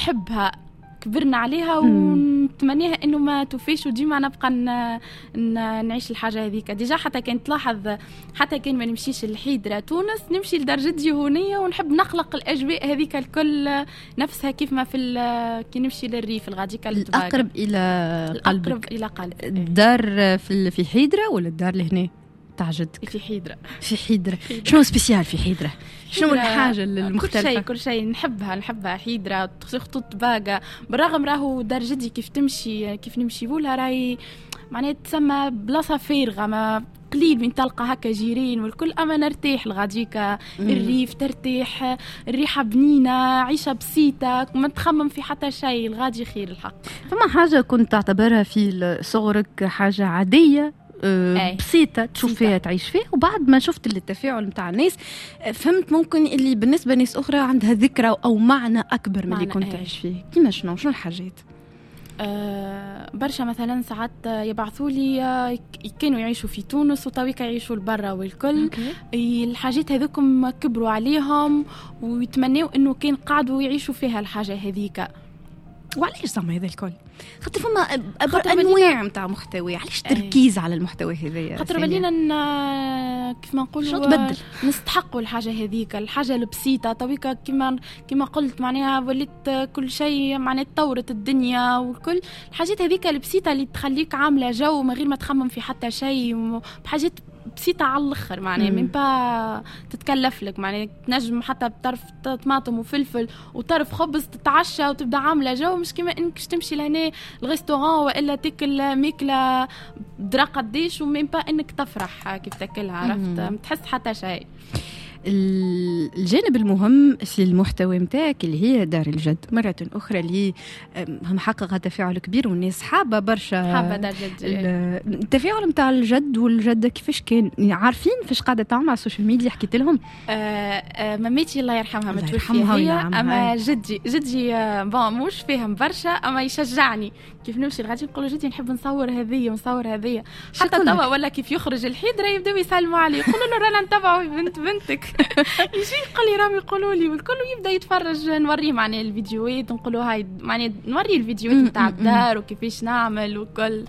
نحبها، كبرنا عليها ونتمنيها انه ما توفيش، وديما نبقى نعيش الحاجة هذيك. déjà حتى كان تلاحظ، حتى كان ما نمشيش الحيدرة تونس، نمشي لدار جدي هونية ونحب نخلق الاجواء هذيك الكل نفسها كيف ما في كي نمشي للريف الغاديك. الاقرب الى قلبك. الاقرب الى قلبي. الدار في حيدرة ولا الدار لهنا تاع جدك؟ في حيدرة. في حيدرة. شنو spécial في حيدرة؟ شنو الحاجة المختلفة؟ كل شيء، كل شيء نحبها حيدرة، خطوط باقة. بالرغم راهو دار جدي كيف تمشي، كيف نمشي لها راهي معناها تسمى بلاصة فارغة، ما قليل من تلقى هكا جيرين والكل، اما نرتاح الغاديكا. الريف ترتاح، الريحة بنينة، عيشة بسيطة، ما تخمم في حتى شيء، الغادي خير الحق. فما حاجة كنت تعتبرها في صغرك حاجة عادية بسيطة تشوف فيها تعيش فيها، وبعد ما شفت التفاعل نتاع الناس فهمت ممكن اللي بالنسبة لناس أخرى عندها ذكرى أو معنى أكبر من اللي كنت تعيش فيه. كيما شنو الحاجات؟ برشا مثلا ساعات يبعثوا لي كانوا يعيشوا في تونس وتويكا يعيشوا لبرا والكل. الحاجات هذوكم كبروا عليهم ويتمنوا انه كان قعدوا يعيشوا فيها الحاجة هذيك. وعلاش زعما هذا الكل؟ خاطر فما انواع نتاع محتوى، علاش تركيز على المحتوى هذايا؟ خاطر ولينا كيف ما نقولوا نستحقوا الحاجة هذيك، الحاجة البسيطة تويكا. كيما قلت معناها وليت كل شيء معناها تطورت الدنيا والكل، الحاجات هذيك البسيطة اللي تخليك عامله جو من غير ما تخمم في حتى شيء، بحاجات بسيطة على الآخر معناها من با تتكلف لك، معناها تنجم حتى بطرف طماطم وفلفل وطرف خبز تتعشى وتبدا عاملة جو، مش كيما انك تمشي لهنا ال restaurant والا تاكل ماكلة درا قديش و même pas انك تفرح كيف تاكلها، عرفت؟ ما تحس حتى شيء. الجانب المهم في المحتوى متاعك اللي هي دار الجد، مرة أخرى اللي محققة تفاعل كبير والناس حابة برشا، حابة دار جد. التفاعل متاع الجد والجدة كيفاش كان؟ عارفين فاش قاعدة تعمل على ال social media؟ حكيت لهم؟ مامتي الله يرحمها متوفية هي، أما جدي bon مش فاهم برشا، أما يشجعني كيف نمشي الغادي نقول جدي نحب نصور هذية ونصور هذية، حتى توا ولا كيف يخرج الحيدرة يبداو يسلموا عليه، يقولوا له رانا نتبعوا بنت بنتك. يجي يقول لي راهم يقولوا لي والكل، يبدا يتفرج، نوريه معناها الفيديوهات، نقولوا هاي معناها نوريه الفيديوهات نتاع الدار وكيفاش نعمل وكل،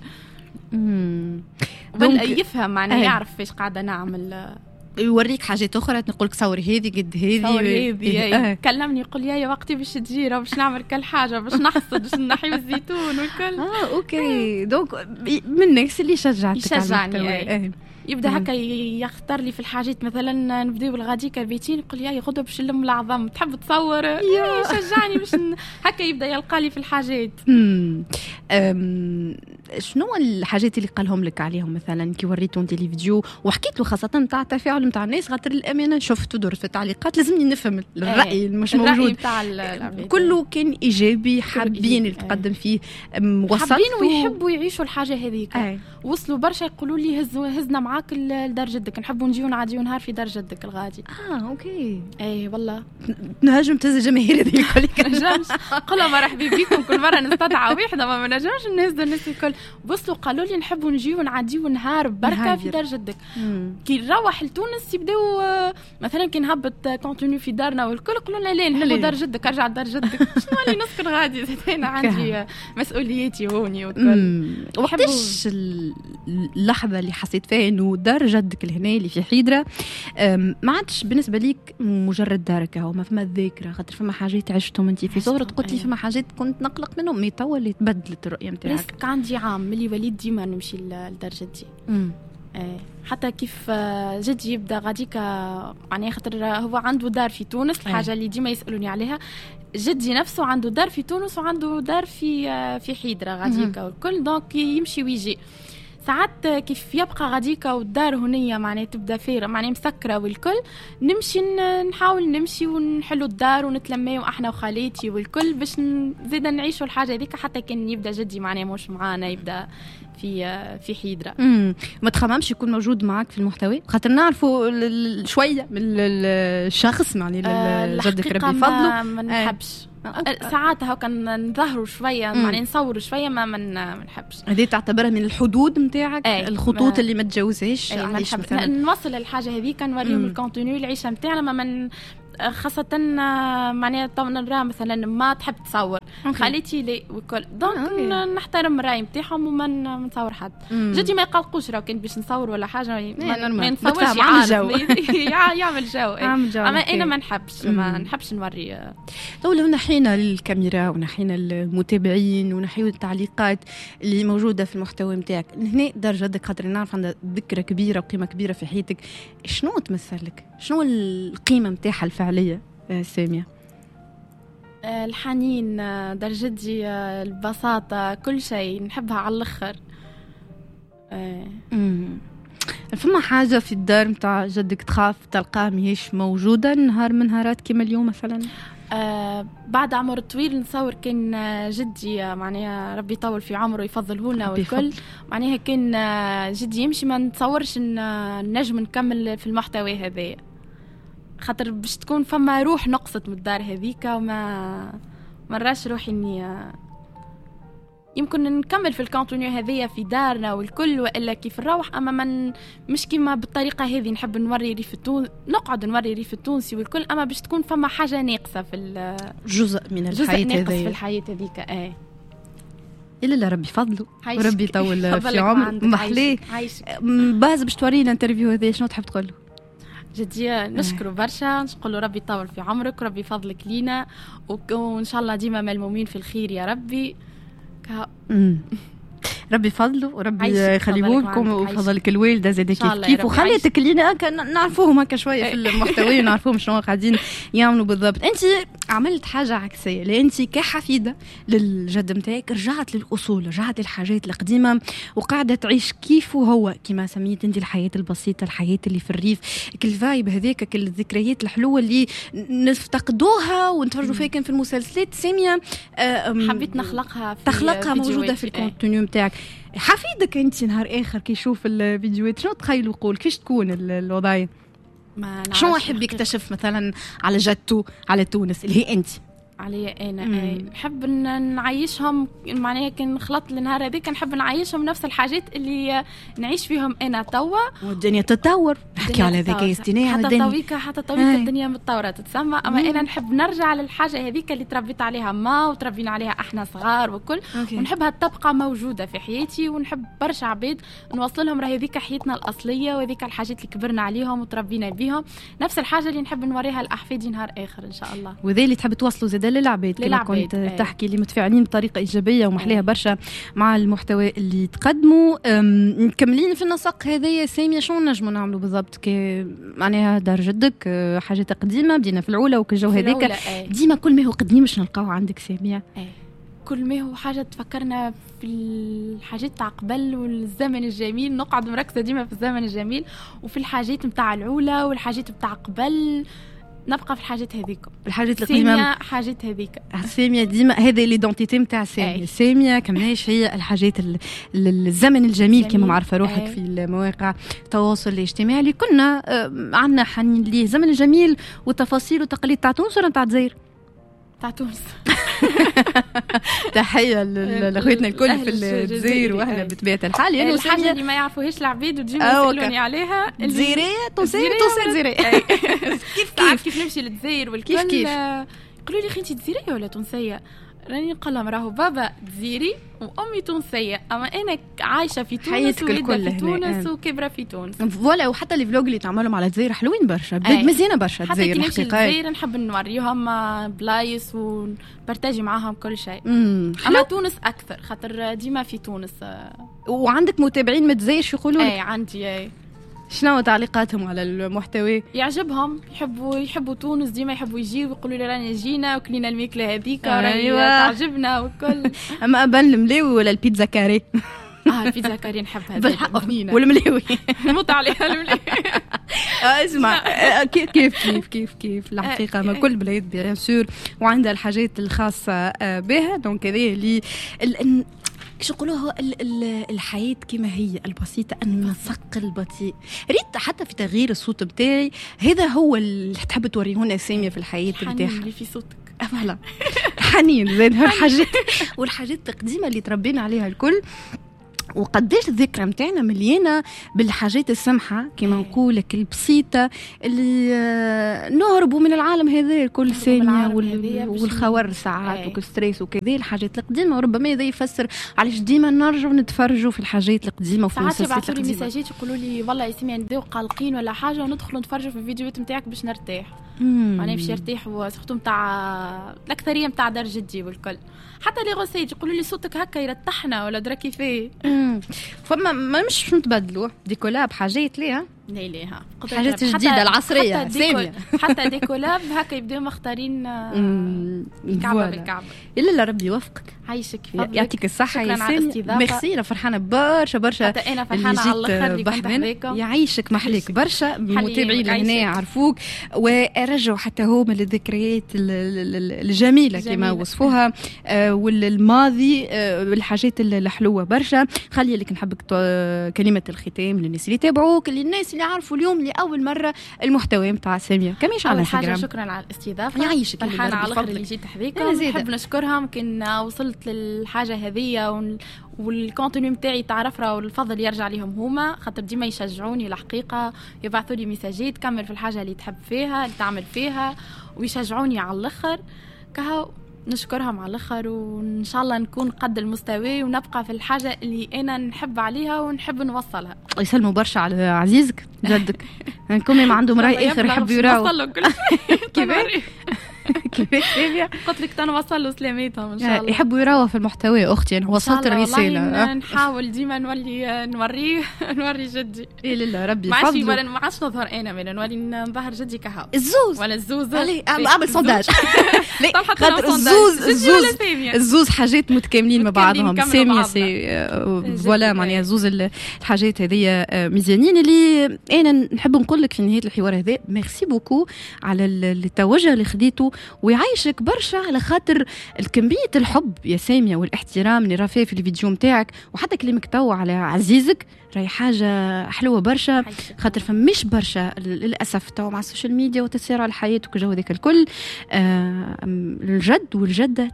يفهم معناها يعرف فاش قاعدة نعمل، يوريك حاجات اخرى، نقول لك صوري هذه قد هذه، هذه. كلمني يقول لي يا وقتي باش تجي باش نعمل كل حاجة، باش نحصد، باش نحيو الزيتون والكل. OK. donc من الناس اللي شجعتك؟ يشجعني. يبدا هكا يختار لي في الحاجات، مثلا نبداو بالغاديكا بيتين يقول لي يا غدوه باش نلم العظم، تحب تصور؟ يشجعني باش هكا يبدا يلقى لي في الحاجات. شنو الحاجات اللي قالهم لك عليهم مثلا كي وريتو انت les vidéos وحكيت له، خاصة نتاع التفاعل نتاع الناس؟ خاطر الامانة شفت ودرت في التعليقات، لازمني نفهم الراي مش موجود، كله كان ايجابي، حابين اللي تقدم فيه، وصلت حابين ويحبوا يعيشوا الحاجة هذيك. وصلوا برشا يقولوا لي هزنا معاك لدار جدك، نحبوا نجيو نعديو نهار في دار جدك الغادي. OK. اي والله نهاجم تهز الجماهير هذه الكل. نجمش قلوا مرحبا بكم، كل مرة نستدعى واحدة، ما نجمش نهز الناس الكل. وصلوا قالوا لي نحبوا نجيو نعديو نهار بركة في دار جدك. كي نروح لتونس يبداو مثلا كي نهبط contenu في دارنا والكل يقولوا لنا لا نحبوا دار جدك، ارجع دار جدك. شنو اللي نسكن غادي؟ انا عندي مسؤولياتي هوني والكل. وقتاش اللحظة اللي حسيت فيها انه دار جدك الهنا اللي في حيدرة ما عادش بالنسبة ليك مجرد دارك، هو ما فما ذاكرة، خاطر فما حاجات عشتهم انت في صغرك، قلت لي فما حاجات كنت نقلق منهم، mais توا اللي تبدلت الرؤية نتاعك. عندي عام ملي وليد ديما نمشي لدار جدي. حتى كيف جدي يبدا غاديك معناها، خاطر هو عنده دار في تونس، الحاجة اللي ديما يسالوني عليها، جدي نفسه عنده دار في تونس وعنده دار في حيدرة غاديك والكل، donc يمشي ويجي. ساعات كيف يبقى غاديكا والدار هنية معناها تبدا فارغة معناها مسكرة والكل، نمشي نحاول نمشي ونحلو الدار ونتلميو احنا وخالاتي والكل باش زيدا نعيشوا الحاجة هذيك، حتى كان يبدا جدي معناها مش معانا، يبدا في حيدرة. ما تخممش يكون موجود معك في المحتوى؟ خاطر نعرفوا شوية من الشخص معناها جدك ربي فضله. ما نحبش ساعات هكا نظهروا شوية معناها نصوروا شوية، ما نحبش. هذه تعتبرها من الحدود نتاعك، الخطوط اللي ما تجاوزهاش؟ علاش مثلا نوصل الحاجة هذيك، نوريهم ال contenu العيشة نتاعنا، ما من خاصة معناها نرى مثلا ما تحب تصور، خالتي لي وكل، donc نحترم الراي نتاعهم وما نصور حد. جدي ما يقلقوش راهو كان باش نصور ولا حاجة، ما نصورش، يعمل جو، اما انا ما نحبش، ما نحبش نوري. تو لو نحينا الكاميرا ونحينا المتابعين ونحيوا التعليقات اللي موجودة في المحتوى نتاعك، هنا دار جدك خاطر نعرف عندها ذكرى كبيرة وقيمه كبيرة في حياتك، شنو تمثل لك؟ شنو القيمة نتاعها الفعلية سامية؟ الحنين، دار جدي، البساطة، كل شيء نحبها على الآخر. فما حاجة في الدار نتاع جدك تخاف تلقاها ماهيش موجودة نهار من نهارات كيما اليوم مثلا؟ بعد عمر طويل نصور كان جدي معناها ربي يطول في عمره ويفضله لنا والكل، معناها كان جدي يمشي ما نتصورش ان نجم نكمل في المحتوى هذايا، خاطر باش تكون فما روح نقصت من الدار هذيك، وما مراش روحي اني يمكن نكمل في ال contenu هذيا في دارنا والكل والا كيف نروح، اما من مش كيما بالطريقة هذه. نحب نوري ريف التونس، نقعد نوري ريف التونسي والكل، اما باش تكون فما حاجة ناقصه في جزء من الحياة هذه، ناقص في الحياة هذيك. ايه الا ربي فضله وربي يطول في عمره. محليه باز باش تورينا l'interview هذه، شنو تحب تقول له؟ جدي نشكره برشا، نقول له ربي يطول في عمرك وربي يفضلك لينا، وان شاء الله ديما ملمومين في الخير يا ربي. ربي فضله وربي يخليه لكم وفضلك الوالدة زاد كيف كيف، وخليتك لينا نعرفوهم هكا شوية في المحتوى ونعرفوهم شنو قاعدين يعملوا بالضبط. انت عملت حاجة عكسية، لان انت كحفيده للجد نتاعك رجعت للاصول، رجعت للحاجات القديمة وقاعدة تعيش كيف هو، كما سميت انت الحياة البسيطة، الحياة اللي في الريف، كل vibe هذاك، كل الذكريات الحلوة اللي نفتقدوها ونتفرجوا فيها كان في المسلسلات. سامية حبيت نخلقها، تخلقها موجودة في ال contenu نتاعك. حفيدك انت نهار اخر كي يشوف الفيديوهات شنو تخيلوا يقول؟ كيفاش تكون الوضعية؟ شنو يحب يكتشف مثلا على جدته، على تونس اللي هي انت؟ عليا انا نحب نعيشهم، معناها كي نخلط النهار هذيك نحب نعيشهم نفس الحاجات اللي نعيش فيهم انا توا. والدنيا تتطور، نحكي على الذكاء الاصطناعي، حتى تويكا، حتى تويكا الدنيا متطورة تتسمى، اما انا نحب نرجع للحاجة هذيك اللي تربيت عليها ما وتربينا عليها احنا صغار وكل. ونحبها تبقى موجودة في حياتي، ونحب برشا عباد نوصل لهم راهي هذيك حياتنا الاصلية وهذيك الحاجات اللي كبرنا عليهم وتربينا بيهم، نفس الحاجة اللي نحب نوريها لاحفادي نهار اخر ان شاء الله. وذا اللي تحب توصلوا زاد للعباد كما كنت تحكي، اللي متفاعلين بطريقة ايجابية ومحليها برشا مع المحتوى اللي تقدموا. مكملين في النسق هذايا سامية، شنو نجموا نعملوا بالضبط؟ كي معناها دار جدك حاجات قديمة، بدينا في العوله وكل الجو هذاك، ديما كل ما هو قديم باش نلقاو عندك سامية. كل ما هو حاجة تفكرنا في الحاجات تاع قبل والزمن الجميل، نقعد مركزه ديما في الزمن الجميل وفي الحاجات نتاع العوله والحاجات نتاع قبل، نبقى في الحاجات هذيك، الحاجات القديمة، حاجات هذيك سامية ديما هذا l'identité نتاع سامية. سامية كماش هي الحاجات الزمن الجميل كما معرفة روحك في المواقع التواصل الاجتماعي اللي كنا عندنا حنين ليه، الزمن الجميل والتفاصيل والتقاليد تاع تونس ولا تاع الجزائر؟ تاع تونس. تحية لاخوتنا الكل في الجزائر واهلا بطبيعة الحال. يعني الحاجة اللي ما يعرفوهاش العبيد وتجيو يسالوني عليها، جزيريه تونسية، تونسية جزيريه، كيف كيف كيف نمشي للجزائر والكل كيف كيف يقولوا لي اخي انت جزيريه ولا تونسية؟ راني نقول لهم راهو بابا جزيري وامي تونسية، اما انا عايشه في تونس وولدت في تونس وكبره في تونس. voilà، وحتى les vlogs اللي تعملهم على الجزائر حلوين برشا، بلاد مزيانه برشا الجزائر الحقيقة. حتى الجزائر نحب نوريهم بلايص ون partager معاهم كل شيء. اما تونس اكثر خاطر ديما في تونس. وعندك متابعين من الجزائر شو يقولوا لك؟ اي عندي. اي شنو تعليقاتهم على المحتوى؟ يعجبهم، يحبوا تونس، ديما يحبوا يجيو ويقولوا لي رانا جينا وكلينا الماكلة هذيك راهي تعجبنا وكل. اما ابان الملاوي ولا البيتزا carrée؟ البيتزا carrée نحبها بالحق، والملاوي نموت عليها الملاوي. اسمع كيف كيف كيف كيف الحقيقة ما كل بلاد bien sûr وعندها الحاجات الخاصة بها، donc هذه اللي شو نقولوها الحياة كما هي البسيطة، النسق البطيء. ريت حتى في تغيير الصوت بتاعي هذا هو اللي تحب توريهونا سامية في الحياة بتاعها. اللي في صوتك voilà حنين زين الحاجات والحاجات القديمة اللي تربينا عليها الكل. وقداش الذكرى متاعنا مليانة بالحاجات السمحة كما نقولك البسيطة اللي نهربوا من العالم هذا كل ثانية والخور ساعات وكل stress وكذا. الحاجات القديمة وربما هذا يفسر علاش ديما نرجعوا نتفرجوا في الحاجات القديمة وفي المسلسلات القديمة. ساعات يبعثوا لي messages يقولوا لي والله يا سامية نبداو قلقين ولا حاجة وندخلوا نتفرجوا في الفيديوهات نتاعك باش نرتاح. معناها باش يرتاح، و surtout نتاع الاكثرية نتاع دار جدي والكل. حتى les recettes يقولوا لي صوتك هكا يرتحنا ولا درا كيفاه. فما ما مش نتبدلوا des collabs حاجات ليها لا ليها حاجات جديدة العصرية سامية. حتى des collabs هكا يبداو مختارين الكعبة بالكعبة. الا لا ربي يوفقك. عايشك، يعطيك الصحة يا سامية. ميرسي، انا فرحانة برشا برشا. حتى انا فرحانة على الاخر اللي كنت حذاكم. يعيشك، محليك برشا. المتابعين هنا يعرفوك ورجعوا حتى هما للذكريات الجميلة كما وصفوها والماضي والحاجات الحلوة برشا. خلي لك نحبك كلمة الختام للناس اللي تابعوك، للناس اللي عرفوا اليوم لاول مرة المحتوى نتاع سامية كميش على انستغرام. شكرا على الاستضافة. يعيشك، فرحانة على الاخر اللي جيت حذاكم. نحب نشكرهم كان وصلت للحاجة هذية وال contenu نتاعي تعرف راه والفضل يرجع لهم هما، خاطر ديما يشجعوني الحقيقة، يبعثوا لي messages كمل في الحاجة اللي تحب فيها اللي تعمل فيها ويشجعوني على الاخر. كهو نشكرهم على الاخر، وان شاء الله نكون قد المستوى ونبقى في الحاجة اللي انا نحب عليها ونحب نوصلها. يسلموا برشا على عزيزك جدك. نكون ما عندهم راي اخر يحبوا يراو. كيفاش كيفاش سامية؟ قلت لك تنوصل له سلامتهم ان شاء الله. يحبوا يراوها في المحتوى اختي، انا وصلت الرسالة. نحاول ديما نولي نوريه نوري جدي. اي لله ربي يفضله. ما عادش نظهر انا، من نولي نظهر جدي كهو. الزوز ولا الزوز. اعمل sondage. خاطر الزوز الزوز حاجات متكاملين مع بعضهم. سامية c'est voilà معناها زوز الحاجات هذيا مزيانين. اللي انا نحب نقول لك في نهاية الحوار هذا merci beaucoup على التوجه اللي خديته، ويعيشك برشا على خاطر الكمية الحب يا سامية والاحترام اللي رافيه في الفيديو متاعك، وحتى كلامك تو على عزيزك راهي حاجة حلوة برشا. خاطر فمش برشا للأسف تو مع ال social media وتسارع الحياة وكل هذاك الكل، الجد والجدة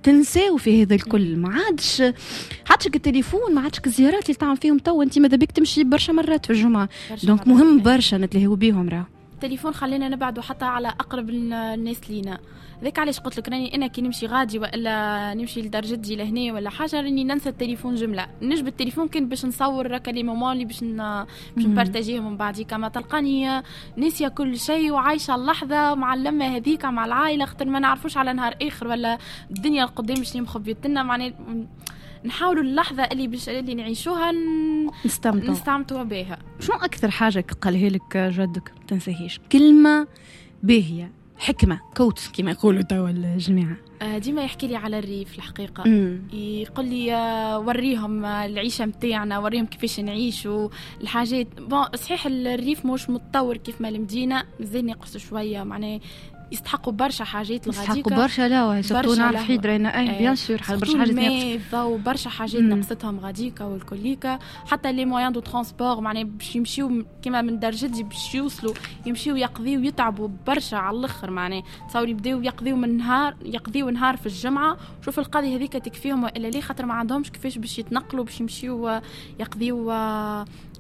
تنساو في هذا الكل. ما عادش التليفون، ما عادش الزيارات اللي تعمل فيهم تو. انت ماذا بك تمشي برشا مرات في الجمعة، donc مهم برشا نتلهوا بيهم. راه التليفون خلينا نبعدوا حتى على اقرب الناس لينا. ذاك علاش قلت لك راني انا كي نمشي غادي والا نمشي لدار جدي لهنا ولا حاجة راني ننسى التليفون جملة. نجبد التليفون كان باش نصور هكا les moments اللي باش ن partager هم من بعدي. كما تلقاني ناسيه كل شيء وعايشة اللحظة مع اللمة هذيك مع العائلة، خاطر ما نعرفوش على نهار اخر ولا الدنيا القدام شنو مخبيت لنا. معناها نحاولوا اللحظة اللي باش اللي نعيشوها نستمتعوا بها. شنو اكثر حاجة قالها لك جدك ما تنساهيش؟ كلمة باهيه، حكمه، quote كما يقولوا توا الجماعة. ديما يحكي لي على الريف الحقيقة. يقول لي وريهم العيشة متاعنا، وريهم كيفاش نعيشوا الحاجات. bon صحيح الريف مش متطور كيف ما المدينة، مازال ناقص شوية، معناه يستحقوا برشا حاجات الغاديكا، يستحقوا برشا. لا surtout نعرف حيدرينا اي bien sûr برشا حاجات ناقص، برشا حاجات نقصتهم غاديكا والكليكا. حتى les moyens de transport معناها باش يمشيو كيما من دار جدي باش يوصلوا يمشيو يقضيو يتعبوا برشا على الاخر. معناها تصوري يبداو يقضيو من نهار، يقضيو نهار في الجمعة، شوف القضية هذيك تكفيهم والا ليه، خاطر ما عندهمش كيفاش باش يتنقلوا باش يمشيو يقضيو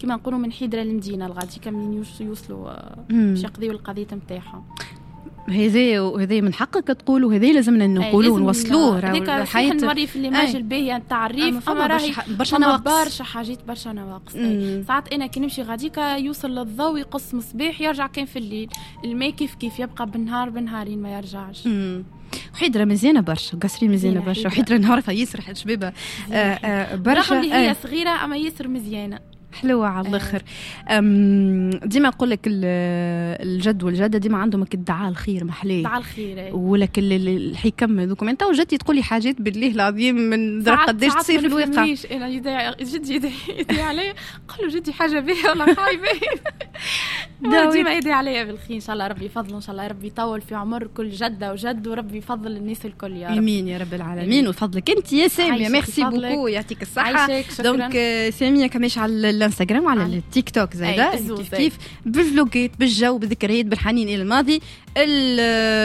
كيما نقولوا من حيدره للمدينة الغاديكا منين يوصلوا باش يقضيو القضية نتاعهم. هذا من حقك تقول، وهذا لازمنا نقولوه ونوصلوه. هذيك نوري في l'image الباهيه نتاع الريف، اما راهي برشا نواقص، برشا حاجات، برشا نواقص. ساعات انا كي نمشي غاديكا يوصل للضوء يقص مصباح يرجع كان في الليل، الماء كيف كيف يبقى بالنهار بنهارين ما يرجعش. وحيدرة مزيانة برشا، قصري مزيانة برشا، وحيدرة نعرفها ياسر شبابة برشا، رغم اللي هي صغيرة اما ياسر مزيانة حلوة على الآخر. ديما نقول لك الجد والجدة ديما عندهم الدعاء الخير محليه، دعاء الخير ولك الحكم هذوك. انت وجدتي تقولي حاجات بالله العظيم من درا قداش تصير في الواقع. انا جدي يدعي عليا، قال له جدي حاجة باهيه ولا خايبة، ديما يدعي عليا بالخير. ان شاء الله ربي يفضل، ان شاء الله ربي يطول في عمر كل جده وجد، وربي يفضل الناس الكل يا رب. امين يا رب العالمين. وفضلك انت يا سامية، merci beaucoup، يعطيك الصحة. donc سامية كماش على الانستغرام وعلى التيك توك زايدة كيف كيف، بالفلوجات، بالجو، بالذكريات، بالحنين الى الماضي.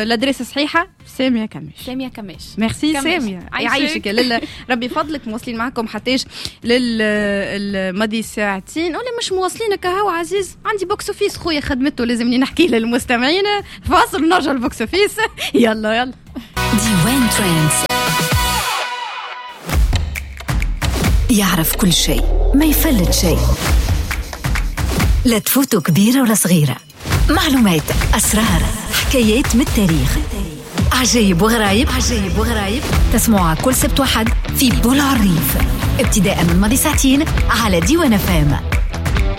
l'adresse صحيحه، سامية كماش. سامية كماش. ميرسي ساميه، يعيشك يا لاله، ربي يفضلك. مواصلين معكم حتىش للماضي ساعتين ولا مش مواصلين؟ كهو عزيز، عندي box office خويا خدمته، لازمني نحكي للمستمعين. فاصل نرجع ال box office. يلا يلا. ديوان Trends يعرف كل شيء، ما يفلت شيء، لا تفوتوا كبيرة ولا صغيرة. معلومات، أسرار، حكايات من التاريخ، عجيب وغرايب، عجيب وغرايب، تسمعها كل سبت وحد في بولع الريف، ابتداء من ماضي ساعتين على ديوان FM.